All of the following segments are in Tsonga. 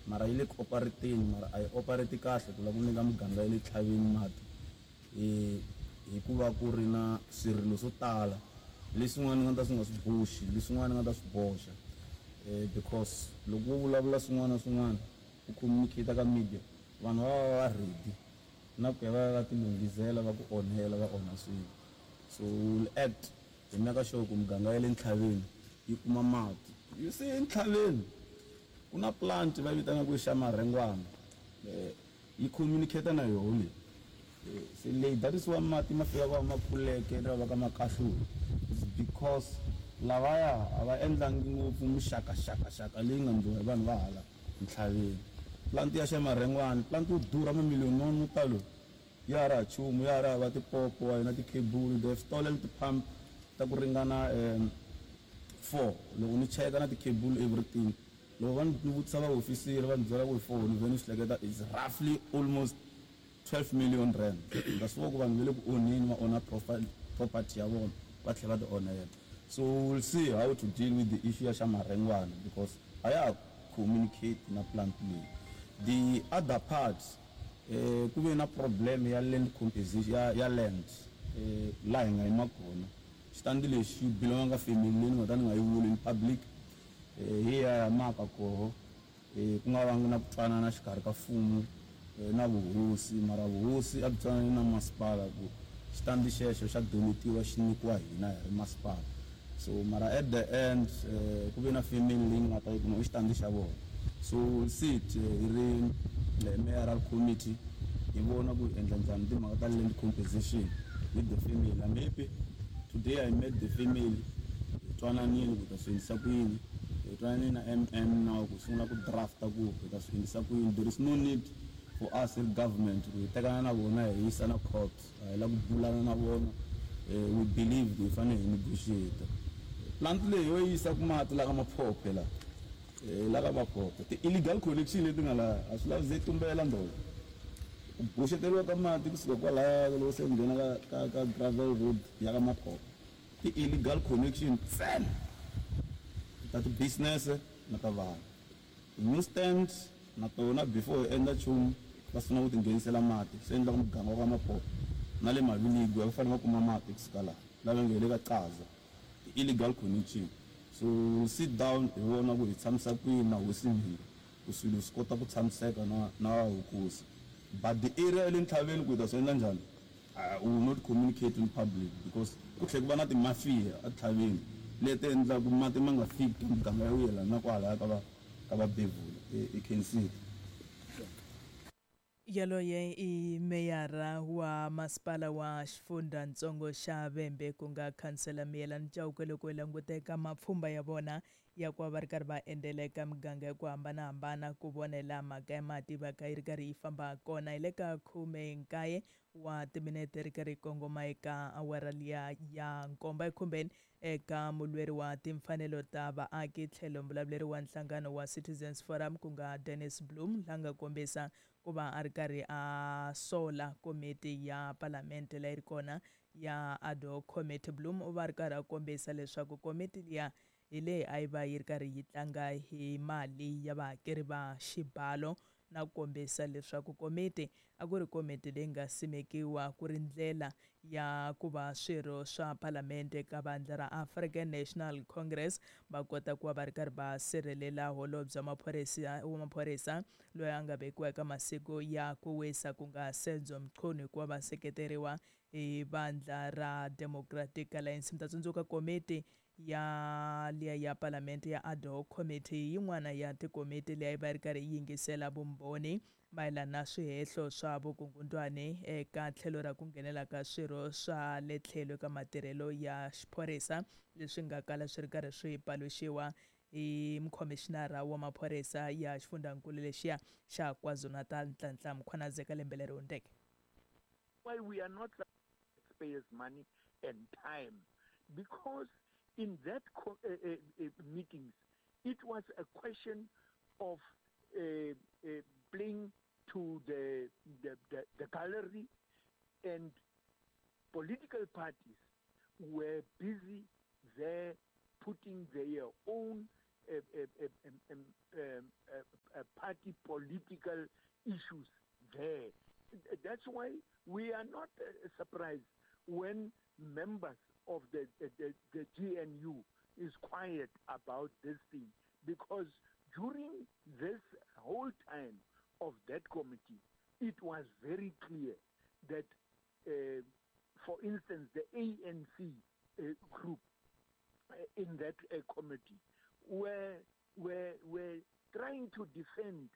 Mara yi le ku operateni, mara a yi operate kahle ku lava ku nyika muganga ya le tlhaveni mati hikuva ku ri na swirilo swo tala leswin'wana ni nga ta swi nga swi boxi, leswin'wana ni nga ta swi boxa because loko wo vulavula swin'wana na swin'wana u communicate ka media vanhu va va va ready na ku ya va ya va tilunghizela va ku onhela va onha swilo. So we will act hi meka sure ku muganga ya le ntlhaveni yi kuma mati. You see entlhaveni ku na plant va yi vitanaka ku i xa Marhengwana yi communicate na yoho leyi. Se leyi that is why mati ma fika va ma kuleke va ka makahlula is because lavaya a va endlangi ngopfu mixakaxakaxaka leyi nga ndliwa hi vanhu va hala ntlhaveni. Plant ya xa Marhengwana plant yo durha mamiliyoni mo talo ya ha ri ha nchumu ya ha ri hava tipopo a yi na ti-cable they have stolen ti-pump ta ku ringana 4 loko ni cheka na ti-cable everything loko va ni vutisa vahofisiri va ni byela ku hi 4 ni vhe ni swi hleketa is roughly almost 12 million rand nga swi vona ku vanhu va le ku onheni va onha profile property ya vona va tlhela va ti onhela so we will see how to deal with the issue ya xa Marhengwana because a ya ha communicate na plant leyi. The other part ku ve na problem ya land composition ya land laha hi nga yima kona xitandi lexi xi belong ka family leyi ni nga ta ni nga yi vuli in public hi ya ya maka koho Ku nga vangi na ku twanana xikarhi ka mfumo na vuhosi, mara vuhosi a byi twanani na masipala ku xitandi xexo xa donetiwa xi nyikiwa hina hi ri masipala. So mara at the end ku ve na family leyi nga ta yi kuma i xitandi xa vona. So we'll sit hi ri mayoral committee hi vona ku hi endla njhani timhaka ta land compensation with the family. I'm happy today I met the family hi twananile ku hi ta swi endlisa ku yini. Hi twanane na MM now ku sungula ku draft-a ku hi ta swi endlisa ku yini. There is no need for us hi ri government ku hi tekana na vona hi yisana court. A hi la ku bulana na vona. We believe ku hi fanele hi negotiate. Plant leyi yo yisa ku mati la ka Maphophe la, la ka Maphophe. Ti-illegal connection leti nga laha a swi lavi ze tumbela ndolo. Ku boxeteriwa ka mati kusuka kwalaya loko se u nghena ka gravel road ya ka Maphophe. Ti illegal connection ntsena ta ti business na ta vanhu. Ti new stands na tona before hi endla nchumu va sungula ku ti nghenisela mati swi endla ku muganga wa ka Maphophe na le Maviligwe va fanele va kuma mati kusuka laha lava nge hi le ka Qaza ti illegal connection. So we will sit down hi vona ku hi tshamisa kwini na hosi Mhiri ku swilo swi kota ku tshamiseka na na vukosi but the area ya le ntlhaveni ku hi ta swi endla njhani We will not communicate in public because ku tlhe ku va na ti-mafia etlhaveni leti endlaku mati ma nga fiki ka miganga ya ku yelana na kwalaya ka va ka va bevula e khensile. Yaloye i meyara wa masipala wa xifundzhantsongo xa Vhembe ku nga khansela Miyelani Chauke loko hi languta eka mapfhumba ya vona ya ku va va ri karhi va endzela eka miganga ya ku hambanahambana ku vona hilaha mhaka ya mati va ka yi ri karhi yi famba kona. Hi le ka 19 wa timinete ri karhi yi kongoma eka awara liya ya nkombo ekhumbeni eka mulweri wa timfanelo ta vaaki tlhelo mbulavuleri wa nhlangano wa Citizens Forum ku nga Dennis Bloem la nga kombisa ku va a ri karhi a sola komiti ya palamente leyi ri kona ya ad hoc committee. Bloem u va a ri karhi a kombisa leswaku komiti liya hi leyi a yi va yi ri karhi yi tlanga hi mali ya vahakeri va xibalo na ku kombisa leswaku komiti a ku ri komiti leyi nga simekiwa ku ri ndlela ya ku va swirho swa Palamende ka vandla ra African National Congress va kota ku va va ri karhi va sirhelela holobye wa maphorisa loyi a nga vekiwa eka masiku ya ku wisa ku nga Senzo Mchunu hikuva va seketeriwa hi vandla ra Democratic Alliance. Mi ta tsundzuka komiti ya liya ya Palamente ya Ad Hoc Committee hi yin'wana ya tikomiti leyi a yi va yi ri karhi yi yingisela vumbhoni mayelana na swihehlo swa vukungundwani eka tlhelo ra ku nghenela ka swirho swa le tlhelo eka matirhelo ya xiphorisa leswi nga kala swi ri karhi swi paluxiwa hi mukhomixinara wa maphorisa ya xifundzankulu lexiya xa KwaZulu-Natal Nhlanhla Mkhwanazi eka lembe leri hundzeke. Why we are not taxpayers money and time because in that meetings it was a question of playing to the gallery and political parties were busy there putting their own party political issues there. That's why we are not surprised when members of the GNU is quiet about this thing, because during this whole time of that committee, it was very clear that, for instance, the ANC group in that committee were trying to defend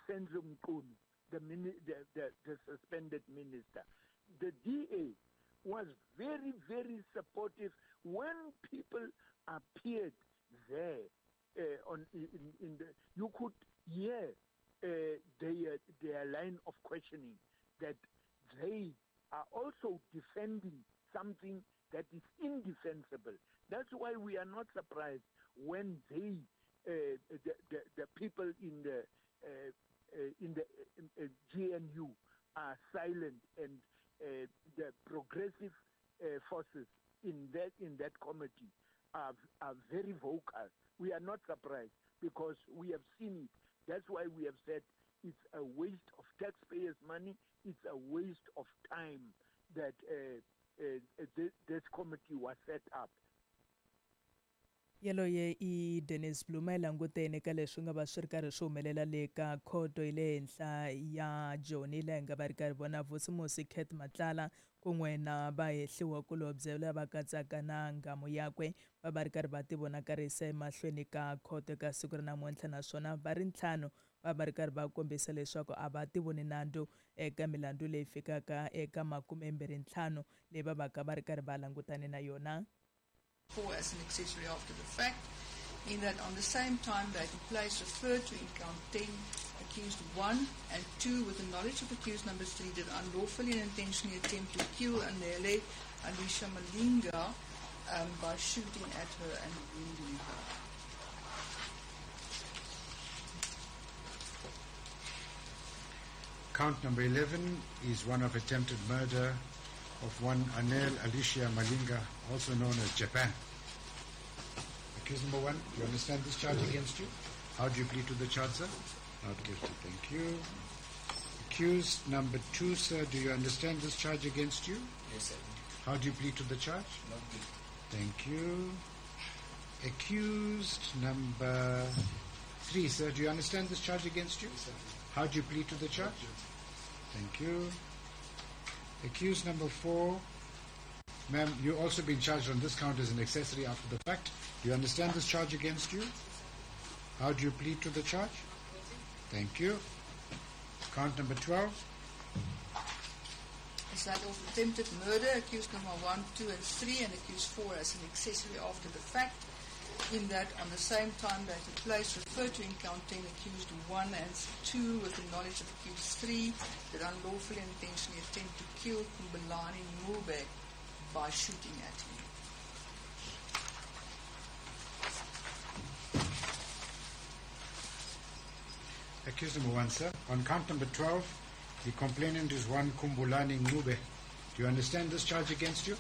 Senzo Mchunu, the suspended minister. The DA was very, very supportive when people appeared there. You could hear their line of questioning, that they are also defending something that is indefensible. That's why we are not surprised when they, the people in the GNU are silent, and the progressive forces in that committee are very vocal. We are not surprised because we have seen it. That's why we have said it's a waste of taxpayers' money. It's a waste of time that this committee was set up. Yaloye i Dennis Bluma yi langutene ka leswi nga va swi ri karhi swi humelela le ka khoto yi le henhla ya Joni, laha hi nga va ri karhi vona Vusimusi Cat Matlala kun'we na vahehliwakulobye lava katsaka na nghamu yakwe va va ri karhi va tivonakarisa emahlweni ka khoto ka siku ra namuntlha, naswona va ri ntlhanu va va ri karhi va kombisa leswaku a va tivoni nandzu eka milandzu leyi fikaka eka 25 leyi va vaka va ri karhi va langutane na yona. 4 as an accessory after the fact, in that on the same time, date and place referred to in count 10, accused 1 and 2 with the knowledge of accused number 3 did unlawfully and intentionally attempt to kill Anele Alicia Malinga by shooting at her and wounding her. Count number 11 is one of attempted murder of one Anel Alicia Malinga, also known as Japan. Accused number 1, do you understand this charge against you? How do you plead to the charge, sir? Not guilty, thank you. Accused number 2, sir, do you understand this charge against you? Yes, sir. How do you plead to the charge? Not guilty. Thank you. Accused number 3, sir, do you understand this charge against you? Yes, sir. How do you plead to the charge? Not guilty. Thank you. Accused number 4, ma'am, you also been charged on this count as an accessory after the fact. Do you understand this charge against you? How do you plead to the charge? Thank you. Count number 12. Is that of attempted murder, accused number 1, 2 and 3, and accused 4 as an accessory after the fact, in that on the same time, date and place referred to in count 10, accused 1 and 2 with the knowledge of accused 3 that unlawfully and intentionally attempt to kill Kumbulani Mube by shooting at him. Accused number 1, sir. On count number 12, the complainant is one Kumbulani Ncube. Do you understand this charge against you?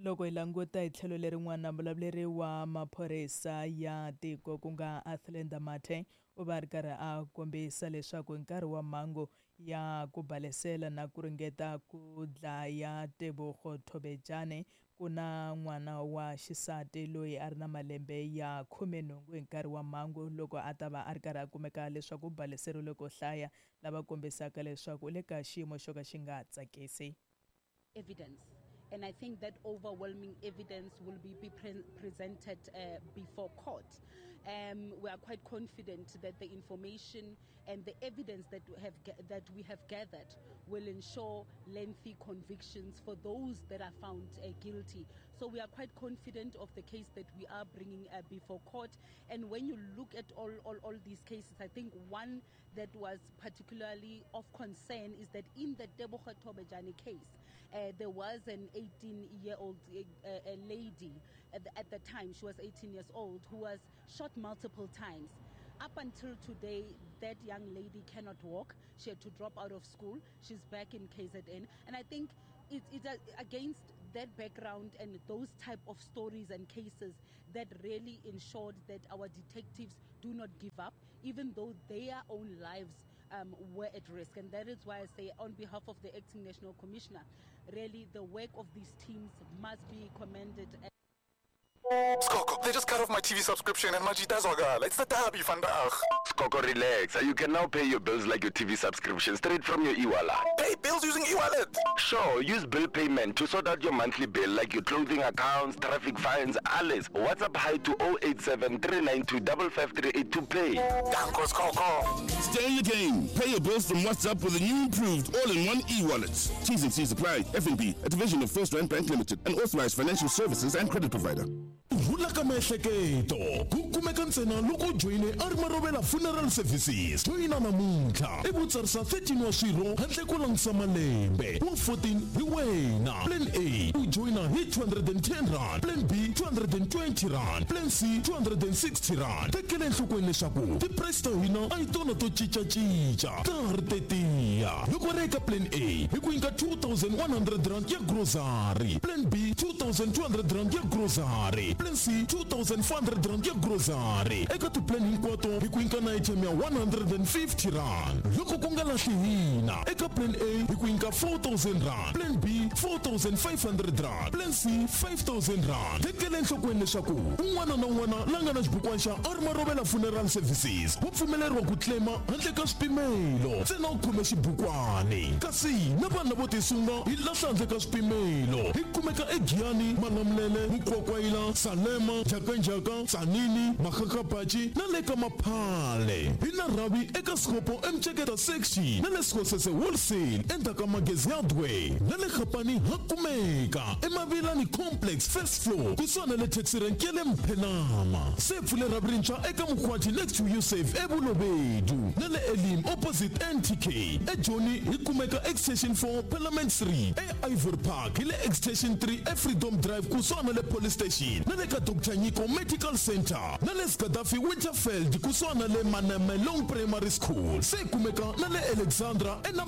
Loko hi languta hi tlhelo lerin'wana, muvulavuleri wa maphorisa ya tiko ku nga Athlenda Mathe u va ri karhi a kombisa leswaku hi nkarhi wa mhangu ya ku balesela na ku ringeta ku dlaya Tebogo Thobejane, ku na n'wana wa xisati loyi a ri na malembe ya 18 hi nkarhi wa mhangu loko a ta va a ri karhi a kumeka leswaku u baleseriwile ko hlaya, lava kombisaka leswaku u le ka xiyimo xo ka xi nga tsakisi. Evidence. And I think that overwhelming evidence will be presented before court. We are quite confident that the information and the evidence that we have gathered will ensure lengthy convictions for those that are found guilty. So we are quite confident of the case that we are bringing before court. And when you look at all these cases, I think one that was particularly of concern is that in the Tebogo Thobejane case, there was an 18-year-old lady at the time, she was 18 years old, who was shot multiple times. Up until today, that young lady cannot walk. She had to drop out of school. She's back in KZN. And I think it's against that background and those type of stories and cases that really ensured that our detectives do not give up, even though their own lives were at risk. And that is why I say, on behalf of the Acting National Commissioner, really the work of these teams must be commended. Skoko, they just cut off my TV subscription and Majita Zwagala. It's the derby vandaag. Skoko, relax. You can now pay your bills like your TV subscription straight from your e-wallet. Pay bills using e-wallet? Sure, use bill payment to sort out your monthly bill like your clothing accounts, traffic fines, alles. WhatsApp hi to 087 392 5538 to pay. Danko, Skoko. Stay in the game. Pay your bills from WhatsApp with the new improved all-in-one e-wallet. T's and C's apply. FNB, a division of First Rand Bank Limited, an authorized financial services and credit provider. Rhula ka miehleketo ku kumeka ntsena loko u joyine a ri Marovela Funeral Services. Joyina namuntlha i vutsarisa 13 wa swirho handle ko langutisa malembe. Wa 14 hi wena. Plan A u joyina hi 210 rand, Plan B 220 rand, Plan C 260 rand. Tekela enhlokweni leswaku ti-price ta hina a hi tona to cincacinca, ta ha ri tetiya. Loko ri eka Plan A hi ku nyika 2100 rand ya grocery, Plan B 2200 rand ya grocery, Plan C 2400 rand ya grocery. Eka ti-plan hinkwato hi ku nyika na item ya 150 rand. Loko ku nga lahli hina, eka Plan A hi ku nyika 4000 rand, Plan B 4500 rand, Plan C 5000 rand. Tekela enhlokweni leswaku un'wana na un'wana la nga na xibukwana xa Armarovela Funeral Services wa pfumeleriwa ku claima handle ka swipimelo, ntsena u khome xibukwani. Kasi na vanhu lavo tisunga hi lahla handle ka swipimelo. Hi kumeka eGiyani, Malamulele, Mukwakwayila, Salema, Njhakanjhaka, Tzaneen, Makgakgapatši na le ka Maphale. Hi na rhavi eka Sekgopo eMtsheketa Section na le Sekgosese Wholesale endzhaku ka Magezi Hardware na le Gapani ha kumeka eMavilani Complex first floor kusuhani na le taxi rank ya le Mphenama. Se pfule rhavi rintshwa eka Mkhwati next to Usave eBulobedu na le Elim opposite NTK. eJoni hi kumeka Extension 4 Parliament 3, eIvory Park hi le Extension 3 eFreedom Drive kusuhani na le Police Station na le ka Dr Nyiko Medical Center na le Gaddafi Winterfeld kusuhani na le Manamelong Primary School. Se kumeka na le Alexandra ena